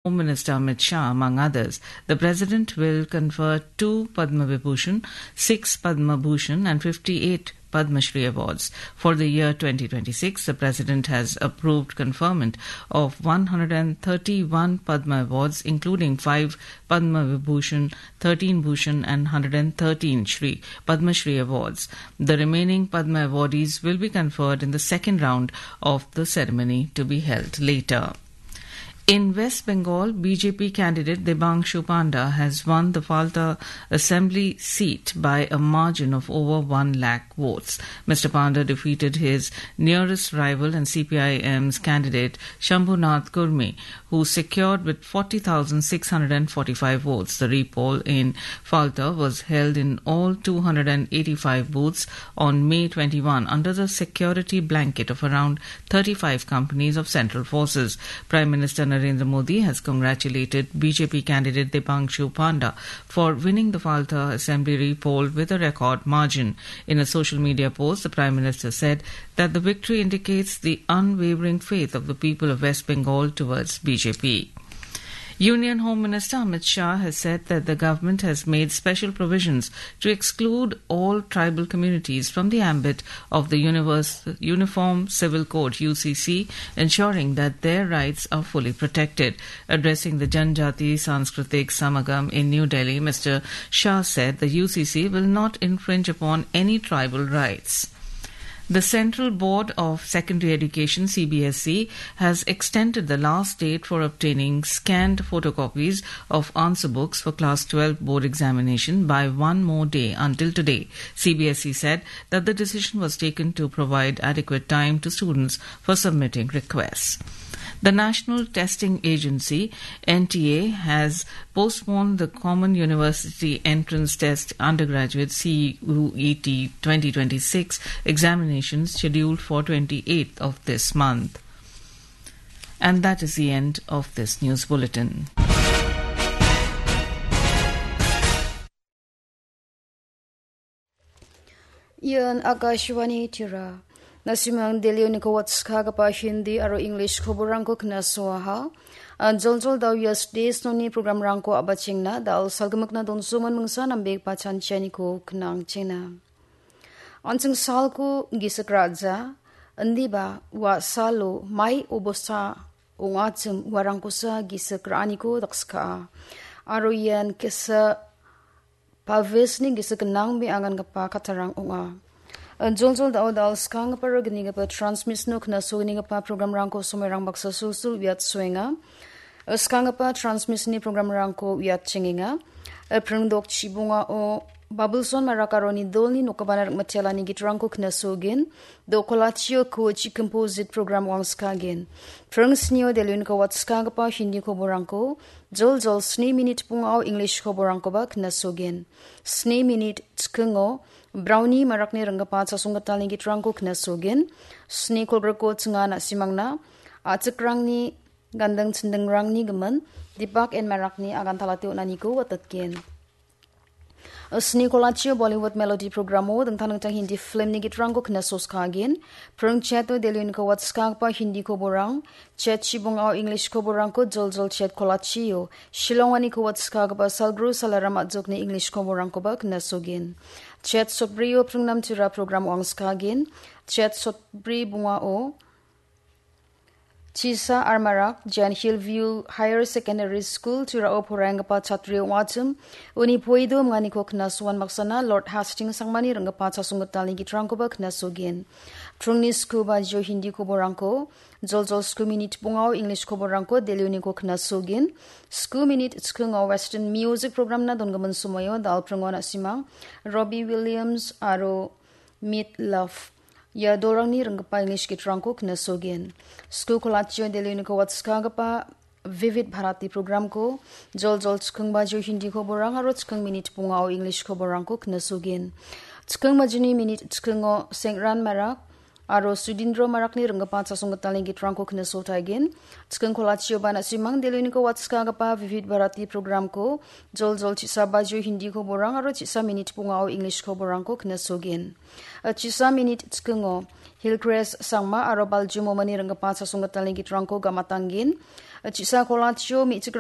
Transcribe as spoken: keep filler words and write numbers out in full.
Home Minister Amit Shah, among others. The President will confer two Padma Vibhushan, six Padma Bhushan, and fifty-eight Padma Shri awards. For the year twenty twenty-six, the President has approved conferment of one hundred thirty-one Padma awards, including five Padma Vibhushan, thirteen Bhushan, and one hundred thirteen Shri Padma Shri awards. The remaining Padma awardees will be conferred in the second round of the ceremony to be held later. In West Bengal, B J P candidate Debhangshu Panda has won the Falta Assembly seat by a margin of over one lakh votes. Mister Panda defeated his nearest rival and C P I M's candidate Shambhunath Kurmi, who secured with forty thousand six hundred forty-five votes. The repoll in Falta was held in all two hundred eighty-five booths on May twenty-one under the security blanket of around thirty-five companies of central forces. Prime Minister Narendra Modi has congratulated B J P candidate Debhangshu Panda for winning the Falta Assembly repoll with a record margin. In a social media post, the Prime Minister said that the victory indicates the unwavering faith of the people of West Bengal towards B J P. Union Home Minister Amit Shah has said that the government has made special provisions to exclude all tribal communities from the ambit of the Univers-, Uniform Civil Code, U C C, ensuring that their rights are fully protected. Addressing the Janjati Sanskritik Samagam in New Delhi, Mister Shah said the U C C will not infringe upon any tribal rights. The Central Board of Secondary Education, C B S E, has extended the last date for obtaining scanned photocopies of answer books for Class twelve board examination by one more day until today. C B S E said that the decision was taken to provide adequate time to students for submitting requests. The National Testing Agency, N T A, has postponed the Common University Entrance Test Undergraduate, C U E T, twenty twenty-six examinations scheduled for twenty-eighth of this month. And that is the end of this news bulletin. Ian Akashvani Tira. Na·simang Delhi-o niko watskagipa Hindi aro English koborangko knasoaha. Anjoljol da·o ia sdesnoni programrangko a·bachengna, da·al salgimikna donsoman mingsa nambegipa chanchianiko knangchengna. An·ching salko gisik raja, indiba ua salo mai obosta ong·achim uarangkosa gisik ra·aniko dakska. Aro ian kesa Pavisni gisik gnang be angangipa kattarang ong·a. Joljol da·o da·al skanggipa aro gnigipa transmission-o knasognigipa programrangko somoirang baksa sulsul uiatsoenga. Skanggipa transmission-ni programrangko uiatchengenga. Pringdok chibongao Babulson Marak aro Nidolni nokgipana rikmatelani gitrangko knasogin. Dokolachio Kochi Composite Program wangskagin. Pring snio Delhi-o niko watskagipa Hindi koborangko, joljol sni minit bungao English koborangkoba knasogin. Sni minit chikingo Brownie Marakni ringgipa chasonggitalni gitrangko knasogin. Sni kolgriko chinga na·simangna, a·chikrangni ganding chindingrangni gimin, Deepak N Marakni agantalate on·aniko watatgen. Sni kolachio Bollywood Melody Programo dingtang dingtang Hindi filmni gitrangko knasoskagin. Pring cheto Delhi-o niko watskagipa Hindi koborang, chet chibongao English koborangko joljol chet kolachio, Shillong-o niko watskagipa Salgru Salaram Ajokni English koborangkoba knasogin. Chet sotbrio pringnam tira program wangskagin. Chet sotbri bungao Chisa Armarak, Jain Hill View Higher Secondary School, Tirao poraienggipa chatri ong·achim, uni poido minganiko knasoan baksana Lord Hastings Sangmani ringgipa chasonggitalni gitrangkoba knasogin. Pringni sku bajio Hindi koborangko, joljol sku minit bungao English koborangko Delhi-o niko knasogin. Sku minit chikingo Western Music Programna dongimin somoio da·al pringo na·simang Robbie Williams aro Meat Loaf. Ia dolrangni ringgipa English gitrangko knasogin. Sku kolachio Delhi-o niko watskagipa Vivid Bharati programko, joljol chiking bajio Hindi koborang aro chiking minit bungao English koborangko knasogin. Chiking bajini minit chikingo Sengran Marak aro Sudindro Marakni ringgipa chasonggitalni gitrangko knasotaigin. Chiking kolachioba na·simang Delhi-o niko watskagipa Vivid Bharati programko, joljol chisa bajio Hindi koborang aro chisa minit bungao English koborangko knasogin. Chisa minit chikingo Hillcrest Sangma aro Balju Momani ringgipa chasonggitalni gitrangko gamatanggen. Chisa kolatio me·chik